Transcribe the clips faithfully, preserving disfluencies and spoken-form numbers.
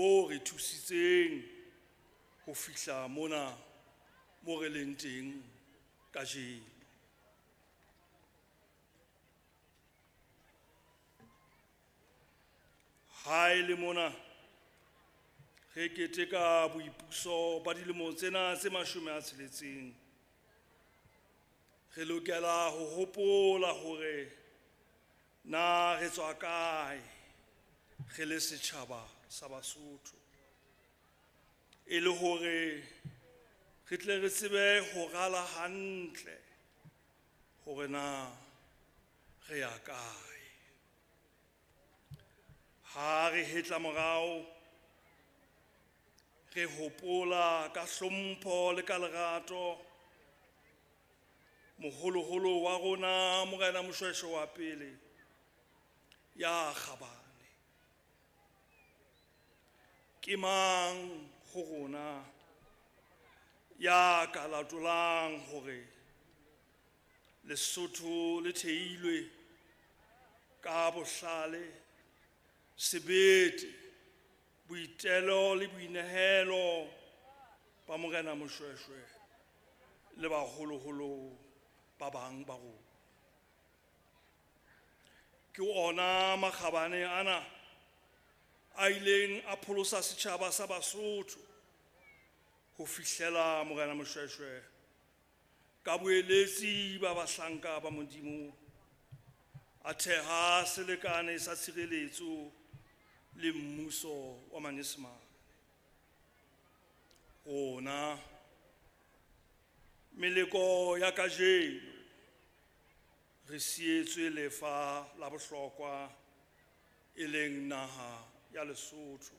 bo re thusitseng ho fihla mona mo re leng teng kajeno. Ha e le mona re keteka boipuso ba dilemo tsena tse mashome a tsheletseng, re lokela ho hopola hore na re tswa kae re le setjhaba sa Basotho, e le hore re tle re tsebe ho rala hantle hore na re ya kae. Ha re hetla morao, re hopola ka hlompho le ka lerato moholoholo wa rona Morena Moshoeshoe wa pele ya kgabane. Ke mang ho rona ya ka latolang hore Lesotho le theilwe ka bohlale, sebete, boitelo le boinehelo ba Morena Moshoeshoe le baholoholo ba bang ba rona? Ke ona makgabane ana a ileng a pholosa setjhaba sa Basotho ho fihlela Morena Moshoeshoe ka boeletsi ba bahlanka ba Modimo a theha selekane sa tshireletso le mmuso wa Manyesemane. Rona meleko ya kajeno re sietswe lefa la bohlokwa e leng naha ya Lesotho,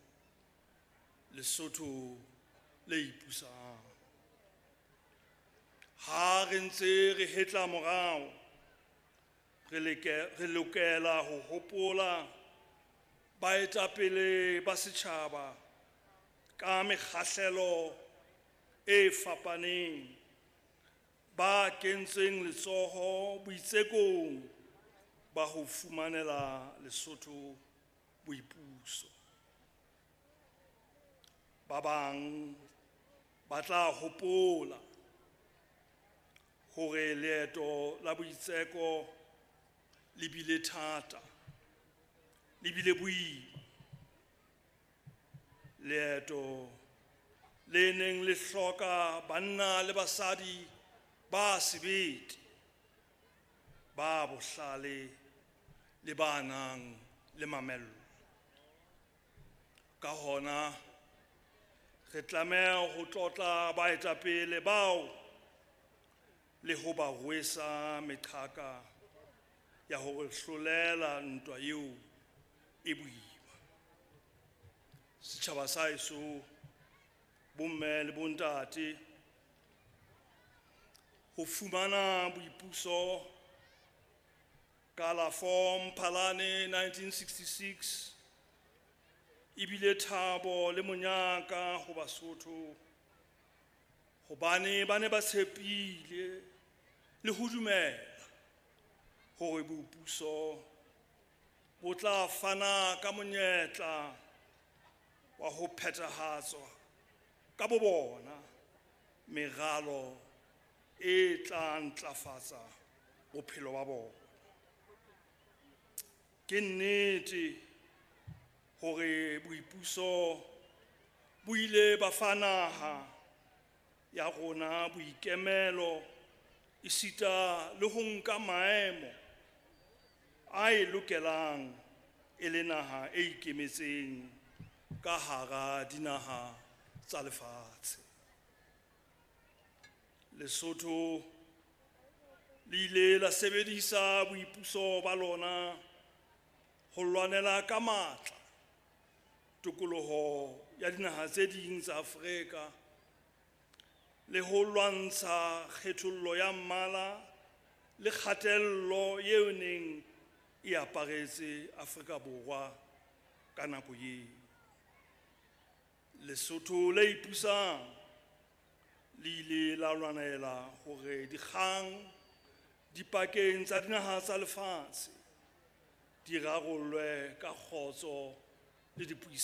Lesotho le ipusang. Ha re ntse re hetla morao, re leke, re lokela ho hopola baetapele ba setjhaba ka mekgahlelo e fapaneng ba kentseng letsoho boitsekong ba ho fumanela Lesotho boipuso. Ba bang ba tla hopola hore leeto la boitseko le bile thata, le bile boima. Leeto le neng le hloka banna le basadi ba sebete, ba bohlale le ba nang le mamello. Ka hona re tlameha ho tlotla baetapele bao le ho ba rwesa meqhaka ya hore hlolela ntwa eo e boima. Setjhaba sa heso, bomme le bontate, ho fumana boipuso ka la four Mphalane nineteen sixty-six ebile thabo le monyaka ho Basotho, hobane ba ne ba tshepile le ho dumela hore boipuso bo tla fana ka monyetla wa ho phethahatswa ka bo bona meralo e tla ntlafatsa bophelo ba bona. Ke nnete hore boipuso bo ile ba fa naha ya rona boikemelo esita le ho nka maemo a e lokelang e le naha e ikemetseng ka hara dinaha tsa lefatshe. Lesotho le ile la sebedisa boipuso ba lona ho lwanela ka matla tokoloho ya dinaha tse ding tsa Afrika le ho lwantsha kgethollo ya mmala le kgatello eo neng e aparetse Afrika Borwa ka nako eo. Lesotho le ipusang le ile la lwanela hore dikgang dipakeng tsa dinaha tsa lefatshe di rarollwe ka kgotso le dipuisano.